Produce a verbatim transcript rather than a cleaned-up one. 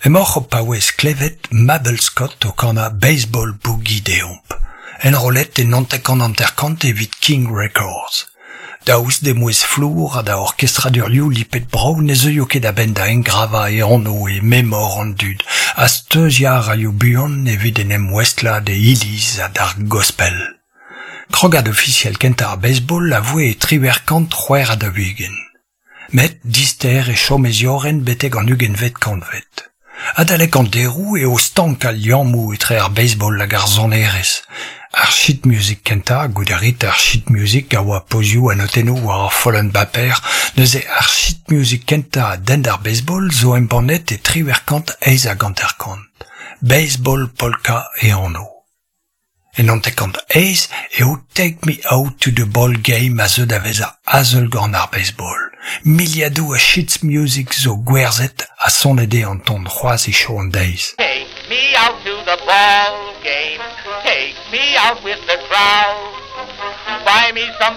Emaoc'h o paouez klevet Mabel Scott o kanañ Baseball Boogie deomp. Enrollet e naontek hanter-kant evit King Records. Daoust d'he mouezh flour ha da orkestradurioù lipet brav ne zeuio ket a-benn da engravañ e anv e memor an dud ha steuziañ a raio buan evit en em ouestlañ d'e iliz ha d'ar gospel. Krogad ofisiel kentañ ar baseball a voe e triwec'h kant c'hwec'h ha daou-ugent. Met dister e chom e ziorren betek an ugentvet kantved. Adalek an deroù eo stank al liammoù etre ar baseball hag ar sonerezh. Ar sheet music kentañ, goude rit ar sheet music a oa pozioù ha notennoù war ur follenn baper, neuze ar sheet music kentañ a denn d'ar baseball zo embannet e triwec'h kant eizh hag hanter-kant. Baseball Polka e anv. E naontek kant eizh eo Take Me Out to the Ball Game a zeu da vezañ azeulgan ar baseball. Miliadoù a sheets music zo gwerzhet ha sonet eo an ton c'hoazh hiziv an deiz. Take me out to the ball game. Take me out with the crowd. Buy me some